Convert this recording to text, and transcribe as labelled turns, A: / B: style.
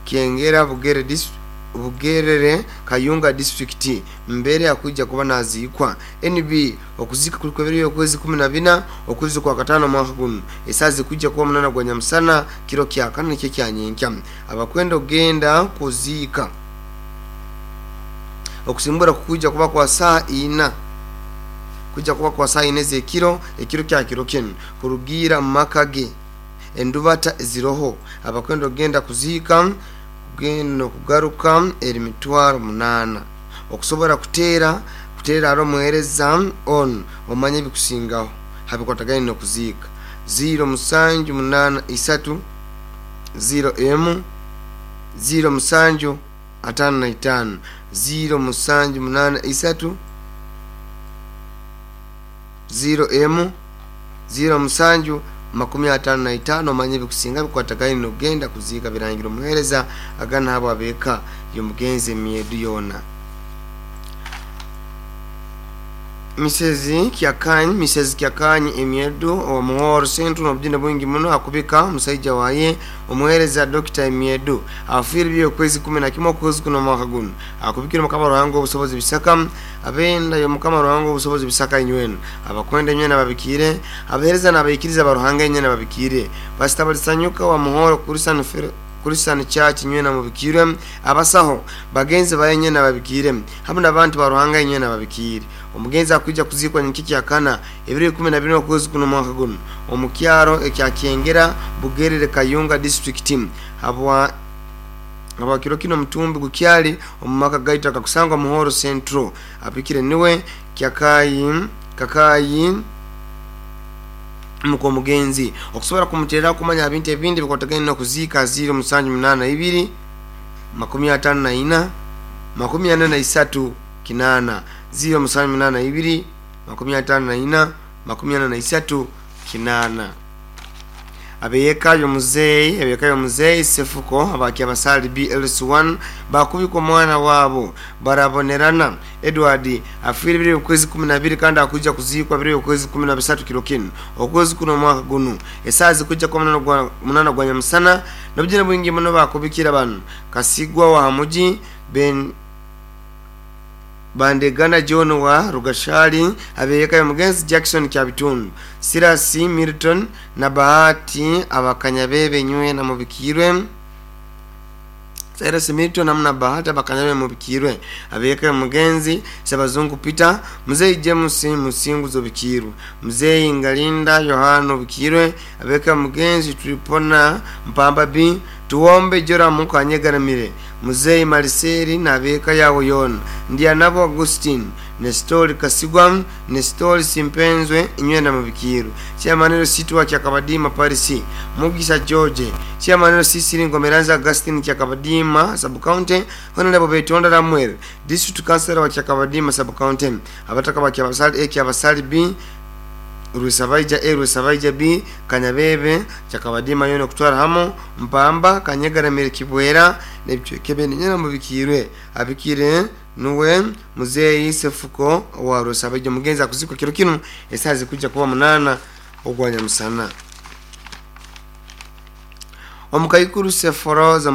A: Kyengera Bugere Bugerere Kayunga district mbere akuija kuba naziikwa. NB okuzika kuliko ebiro okwezi 14 okwezi kwa katano mwaka guno, esaa zikuija kuba 8 gwa nyamusana kiro kya kana nikyo kyanyenkya. Abakwenda ogenda kuziika okusimbura kukuija kuba kwa saa ina, kuija kuba kwa saa ina ez'ekiro, ekiro kya kiro kinu kurugiira mu maka ge endubata ziroho. Abakwenda ogenda kuziika kugenda okugaruka eri 800,000. Okusobora kuteera kuteera omuheereza onu omanye ebikusingaho habikwatagaine n'okuziika 0783 0M 0755 0783 0M 0755 omanye ebikusinga bikwatagaine n'okugenda kuziika. Birangira omuheereza agana abo abeeka y'omugenzi emyedu yoona. Mrs Kyakanyi, Mrs Kyakanyi emyedu owa Muhoro Central n'obujune bwingi muno akubika omusaija waye omuheereza Dr. Emyedu afiire by'okwezi 11 okwezi kuno omwaka guno. Akubikira Mukama Ruhanga obusobozi bisaka abenda y'Omukama Ruhanga obusobozi bisaka inywena abakwenda inywena babikiire abaheereza n'abaikiriza baruhanga inywena babikiire Pastor Balisanyuka wa Muhoro Christian Church inywena mubikirwe abasaho bagenzi baye inywena babikiire hamu n'abantu ba Ruhanga inywena babikiire. Omugenzi akuija kuziikwa nyenkya kyakana ebiro 14 okwezi kuno omwaka guno omu kyaro ekya Kyengera Bugerere Kayunga district. Habwa kiro kino omutumbi gukyali omu maka gaitu akakusangwa Muhoro Central. Apikire niwe Kyakayi Kakayi muko omugenzi. Okusobora kumuterera kumanya ebintu ebindi bikwatagaine n'okuziika 0782 54 43 8 0782 54 43 8. Abeyeka y'omuzeeyi Sefuko abakyabasali BLC1 bakubika omwana waabo barabonerana Edward afiire biro okwezi 12 kandi akuija kuziikwa biro okwezi 13 kiro kinu okwezi kuno omwaka guno esaa zikuija kuba 8 gwa nyamusana n'obujune bwingi muno bakubikira bano Kasigwa wa Hamuji Ben Bandegana John wa Rugashali abeyeka y'omugenzi Jackson Kyabitundu Sirasi Milton na Bahati abakanyabebe nywena mubikirwe Cyrus Milton amuna Bahati abakanyabe mubikirwe abeyeka y'omugenzi Sabazungu Peter Mzee James Musinguzo bikirwe Mzee Ngalinda Yohana bikirwe abeyeka y'omugenzi Tripona Mpamba B Tuombe Joramu Kanyegaramire Mzee Mariseri na abeka yawo yona Ndianabo Augustine Nestori Kasigwa Nestori Simpenzwe inywena mubikiru Chairman Sitwa Kyakabadima Paris Mugisa George Chairman Sisiri Ngomeranza Augustine Kyakabadima Sub County Honorable Betonda Ramwel District Councilor wa Kyakabadima Sub County abataka ba Kyabasali A Kyabasali B Rusabaija A Rusabaija B Kanyabebe Kyakabadima yona kutwara hamo Mpamba Kanyegaramire Kibwera nebicweke nyina mubikirwe abikire nuwe Muzeeyi Sefuko wa Rusabaija. Mugenzi akuzikwa kiro kino esaa zikuja kuba 8 ogwa nyamusana. Omukaikuru Seforoza